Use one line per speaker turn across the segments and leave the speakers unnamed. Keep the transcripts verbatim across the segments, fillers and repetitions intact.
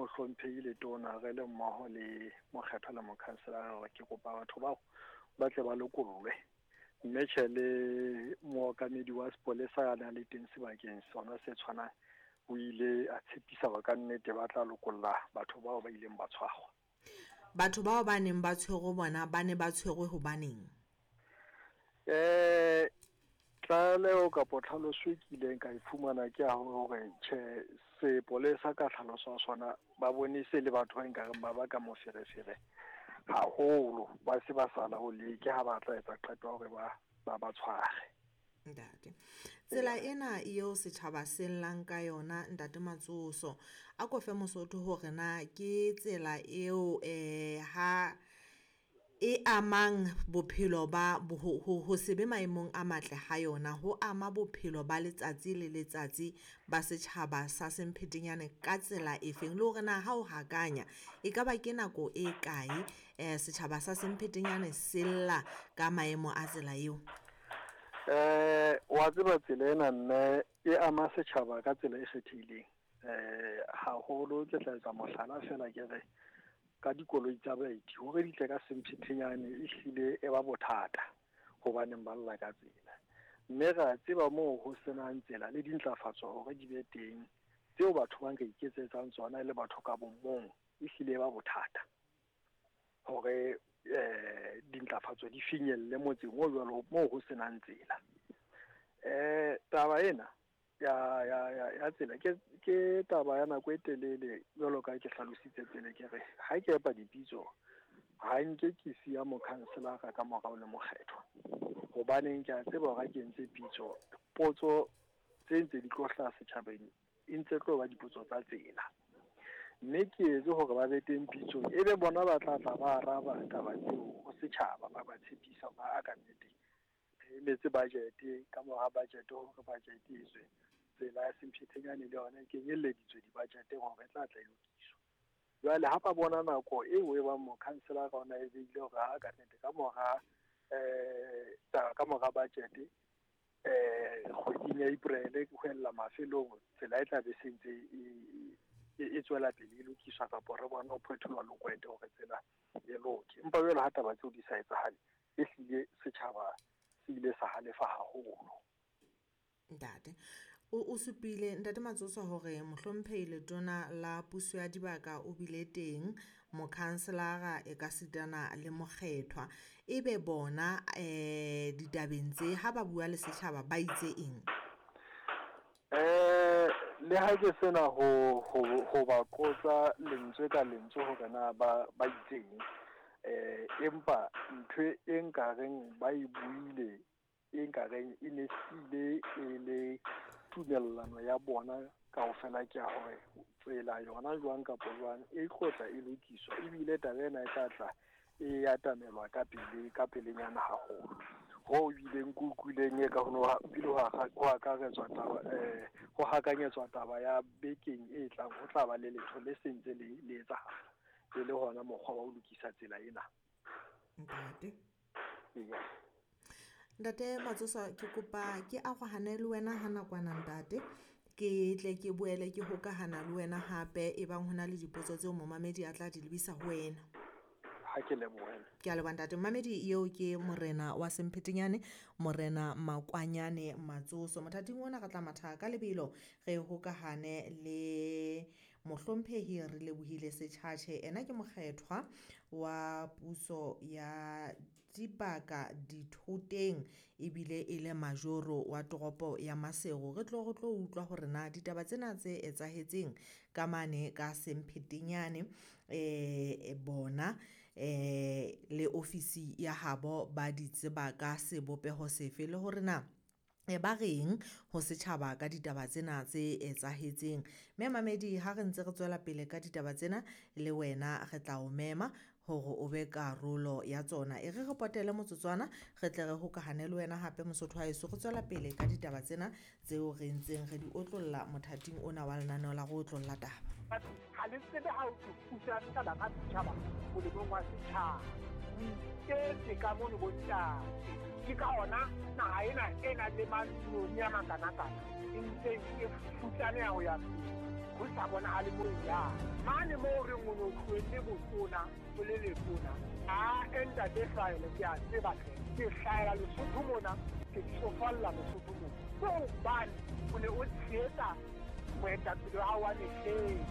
mohlomphehi le tona re le mmoho le mokgethwa le mokhanselara hore ke kopa batho bao ba tle ba lokollwe. Mme tjhe le mookamedi wa sepolesa ya nang le teng sebakeng sona se tshwanang o ile a tshepisa hore ka nnete ba tla lokolla batho bao ba ileng ba tshwarwa.
Batho bao ba neng ba tshwerwe bona ba ne ba tshwerwe hobaneng?
Eh tlaleho kapa tlhaloso e kileng ka e fumana ke ya hore tjhe sepolesa ka tlhaloso ya sona ba bone se le batho ba nkareng ba baka moferefere haholo, ba se ba sa laolehe, ke ha ba tla etsa qeto ya hore ba ba ba tshware.
Ntate, tsela ena eo setjhaba se llang ka yona ntate Matsoso, a ko fe Mosotho hore na ke tsela eo eh ha e amang bophelo ba ho, ho, ho se be maemong a matle ha yona, ho ama bophelo ba letsatsi le letsatsi ba setjhaba sa Semphetenyane ka tsela efeng, le hore na ha o hakanya e ka ba ke nako e kae eh setjhaba sa Semphetenyane se lla ka maemo a tsela eo?
Eh wa tseba tsela ena mme e ama setjhaba ka tsela e kgethehileng. Eh haholo ke tla etsa mohlala fela ke re ka dikoloi tsa baeti hore di tle ka Semphetenyane e hlile e ba bothata hobaneng ba lla ka tsela. Mme re a tseba moo ho senang tsela le dintlafatso hore di be teng tseo batho ba nka iketsetsang tsona e le batho ka bo mong, e hlile e ba bothata hore eh dintlafatso di finyelle motseng o jwalo moo ho senang tsela. Eh taba ena ya ya ya ya tsela ke ke taba ya nako e telele jwalo ka ke hlalositse pele ke re ha ke epa dipitso ha nke ke siya mokhanselara ka morao le mokgethwa, hobaneng ke a tseba hore ha ke entse pitso potso tse ntse di tlo hlaha setjhabeng e ntse tlo ba dipotso tsa tsela, mme ke etse hore ba be teng pitsong e be bona ba tla tla ba araba taba tseo ho setjhaba, ba ba tshepisa ba ka nnete re emetse budget, ka mora budget hore budget e tswe tsela ya Semphetenyane le yona e kenyelleditswe di-budget-eng hore e tla tla e lokiswa. Jwale ha ba bona nako eo e bang mokhanselara ona e beile hore ha ka nnete ka mora eh ka mora budget eh kgweding ya April ho ella mafelong tsela e tla be se ntse e e tswela pele e lokiswa kapa re bona ho phetholwa lokwete hore tsela e loke. Empa jwale ha taba tseo di sa etsahale e hlile setjhaba se ile sa halefa haholo.
Ntate, o o supile ntate Matsoso hore mohlomphehi letona la puso ya dibaka o bile teng, mokhanselara e ka sitana le mokgethwa. Ebe bona eh ditabeng tse ha ba bua le setjhaba ba itse eng?
Eh le ha ke sena ho ho ho ba qotsa lentswe ka lentswe hore na ba ba itseng, eh empa ntho e nkareng ba e buile e nkareng e ne hlile e le tumellano ya bona kaofela ke ya hore tsela yona jwang kapa jwang e tlotla e lokiswa, ebile taba ena e tla tla e atamelwa ka pele ka pelenyana haholo. Ho bileng ke utlwileng e ka ho no bile ho ho akaretswa taba eh ho hakanyetswa taba ya bekeng e tlang ho tla ba le letho le sentse le le etsahala e le hona mokgwa wa ho lokisa tsela ena.
Ntate.
Eya.
Ntate Matsoso, ke kopa ke arohane le wena ha nakwana ntate, ke tle ke boele ke hokahana le wena hape e bang hona le dipotso tseo momamedi a tla di lebisa ho wena.
Ha ke lebohe.
Ke a leboha ntate. Mamedi eo ke morena wa Semphetenyane, morena Makwanyane Matsoso. Mothating ona re tla matha ka lebelo re hokahane le mohlomphehi re lebohile Setjhatjhe. Ena ke mokgethwa wa puso ya dibaka dithoteng ebile e le majoro wa toropo ya Maseru. Re tlo re tlo utlwa hore na ditaba tsena tse etsahetseng ka mane ka Semphetenyane eh bona eh le ofisi ya habo ba di tseba ka sebopeho sefe, le hore na e ba reng ho setjhaba ka ditaba tsena tse etsahetseng. Mme mamedi ha re ntse re tswela pele ka ditaba tsena le wena re tla o mema hore o be karolo ya tsona. E re re potele motsotswana re tle re hokahane le wena hape Mosotho wa heso, re tswela pele ka ditaba tsena tseo re ntseng re di otlolla mothating ona wa lenaneo la go otlolla taba.
Ha le tsebe ha o thusa setjhaba ka setjhaba molemong wa setjhaba. O iketse ka mono bontate. Ke ka hona naha ena e nang le matlong a makanakana e ntse e futsaneha ho ya pele. Ho sa bonahale mo e yang. Mane moo re o no tlohelle botona, o le letona. A ntate Hlahela ke a tseba hle. Ke hlahela Lesotho mona, ke tsofalla Lesotho mona. Ke hobane o ne o tshehetsa moetapele wa hao wa mehleng.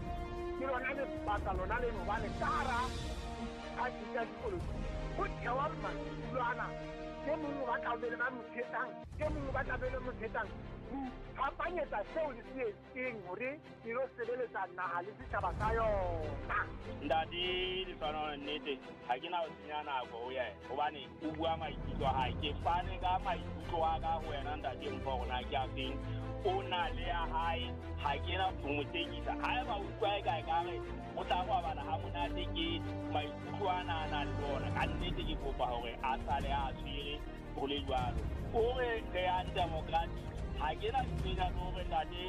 Ke lona lebaka lona leno hobane ka hara diphathi tsa dipolotiki ho thewa madulo ana. E mong o batla ho be le ba mo tshehetsang, e mong o batla be le mo tshehetsang. Fapanyetsa seo le se etseng hore e lo sebeletsa naha le setjhaba sa yona.
Ntate Lehlohonolo, nnete ha ke na ho senya nako ho yena hobane o bua maikutlo a hae. Ke fane ka maikutlo a ka ho wena ntate Mpho hore na ke a feng. O na le ya hae, ha ke na ho mo tekisa. Haeba o utlwa eka ekare o tla robala ha monate ke maikutlo ana a nang le ona, ka nnete ke kopa hore a sale a tshwere ho le jwalo. O re re yang democratic, ha ke na ntho le hore ntate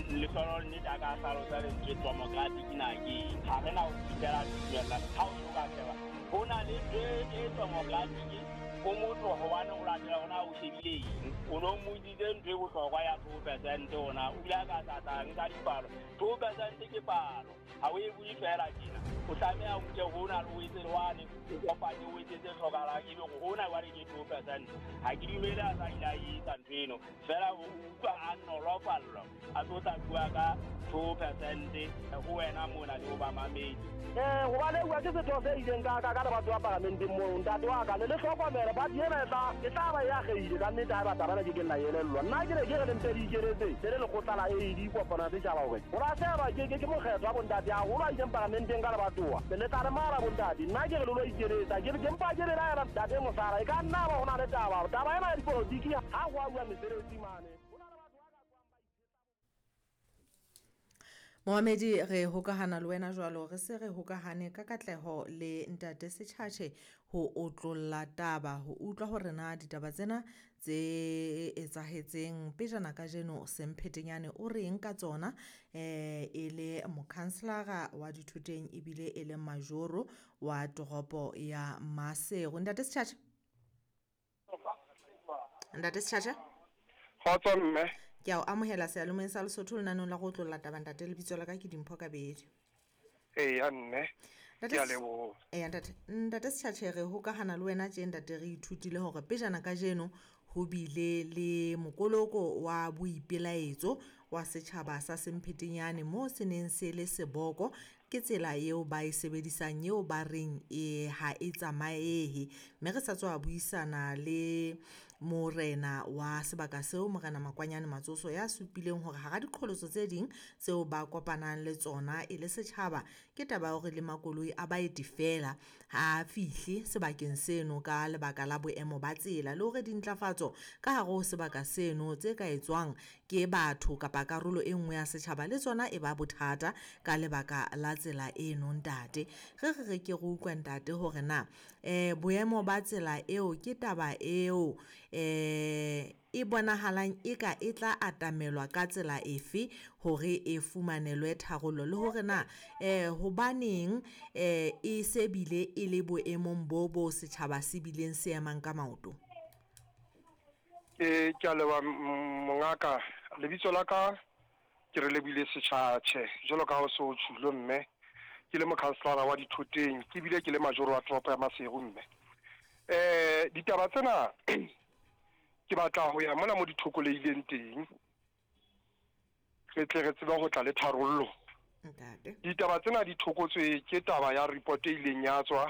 Lehlohonolo nnete a ka hlalosa lentswe democratic na ke eng. Ha re na ho fihlela tumellano ha o so ka sheba. Ho na le ntho e democratic o motho hobane o latela hona o shebile eng. O no mmotsitse ntho e bohlokwa ya two percent ona, o bile a ka sa tla nka dipalo. Two percent ke palo, ha o e bue feela tjena. O tlameha o nke hona le o etse le wane, o kopanye o etse tse hlokahalang, ebe hore hona jwale ke two percent. Ha ke dumele a sa ile a etsa ntho eno, feela o utlwa a nolofallwa a tlo tla bua ka two percent ho wena mona le ho bamamedi.
Eh, hobane bua ke setho se ileng ka ka ka le batho ba paramenteng moo, ntate wa ka le le hlokomele party ena e tla e tla ba ya kgeile ka nnete ha ba taba ke ke nna elellwa. Nna ke ne ke re le mpe le ikeletse le le lekgotla la A D kopano ya setjhaba hore ho lahlehelwa ke ke ke mokgetho wa bontate haholo a ileng paramenteng ka lebatowa. Le tla re mara bontate, nna ke re le lo ikeletsa, ke ke mpa ke belaela ntate Mosala e ka nna ba ho na le taba. Taba ena ya dipolotiki ha ho a bua mesebetsi mane.
Mohamedi, re hokahana le wena jwalo, re se re hokahane ka katleho le ntate Setjhatjhe ho otlolla taba, ho utlwa hore na ditaba tsena tse etsahetseng pejana kajeno Semphetenyane o reng ka tsona, eh e le mokhanselara wa dithoteng ebile e le majoro wa toropo ya Maseru. Ntate Setjhatjhe? Ntate Setjhatjhe?
Kgotso mme.
Ke a o amohela seyalemoyeng sa Lesotho lenaneng la go otlolla taba ntate. Lebitso la ka ke Dimpho Kabedi.
Eya mme,
Ntate
ke a leboha.
Eya ntate, ntate Setjhatjhe, re hokahana le wena tje ntate, re ithutile hore pejana kajeno ho bile le mokoloko wa boipelaetso wa setjhaba sa Semphetenyane moo se neng se le seboko. Ke tsela eo ba e sebedisang eo ba reng e ha e tsamaehe. Mme re sa tswa buisana le morena wa sebaka seo, Morena Makwanyane Matsoso, ya supileng hore hara diqholotso tse ding tseo ba kopanang le tsona e le setjhaba ke taba ya hore le makoloi a baeti feela ha a fihle sebakeng seno ka lebaka la boemo ba tsela, le hore dintlafatso ka hare ho sebaka seno tse ka etswang ke batho kapa karolo e nngwe ya setjhaba le tsona e ba bothata ka lebaka la tsela eno ntate. Re re re ke re utlwe ntate hore na eh boemo ba tsela eo ke taba eo eh e bonahalang eka e tla atamelwa ka tsela efe hore e fumanelwe tharollo, le hore na eh hobaneng eh e se bile e le boemong bo bo setjhaba se bileng se emang ka maoto.
Eh ke a leboha mongaka. Lebitso la ka ke re lebile Setjhatjhe jwalo ka ha o so tjhulo mme, ke le mokhanselara wa dithoteng, ke bile ke le majoro wa toropo ya Maseru mme. Eh ditaba tsena ke batla ho ya mona mo dithokoleileng teng, re tle re tsebe ho tla le tharollo.
Ntate.
Ditaba tsena di thokotswe ke taba ya report e ileng ya tswa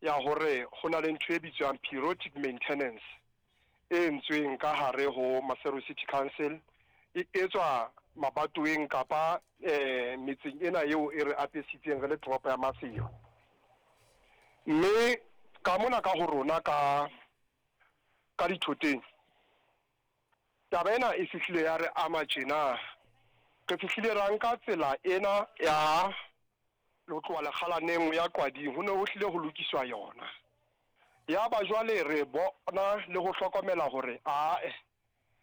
ya hore ho na le ntho e bitswang periodic maintenance e entsweng ka hare ho Maseru City Council, e etswa mabatoweng kapa eh metseng ena eo e re apesitseng re le toropo ya Maseru. Mme ka mona ka ho rona ka ka dithoteng, taba ena e fihlile ya re ama tjena. Re fihlile ra nka tsela ena ya ho tloha Lekgalaneng ya Qwading, ho ne ho hlile ho lokiswa yona. Ya ba jwale re bona le ho hlokomela hore ae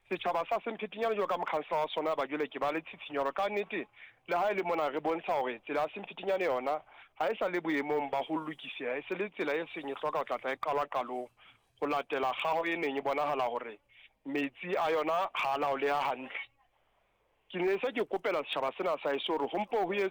setjhaba sa Semphetenyane jwalo ka mokhanselara wa sona ba jwale ke ba le tshitshinyo hore ka nnete le ha e le mona re bontsha hore tsela ya Semphetenyane yona ha e sa le boemong ba ho lokiseha, e se le tsela e seng e hloka ho tlatla e qalwa qalong ho latela kgaho e neng e bonahala hore metsi a yona ha a laoleha hantle. Ke ne se ke kopela setjhaba sena sa heso hore ho mpo ho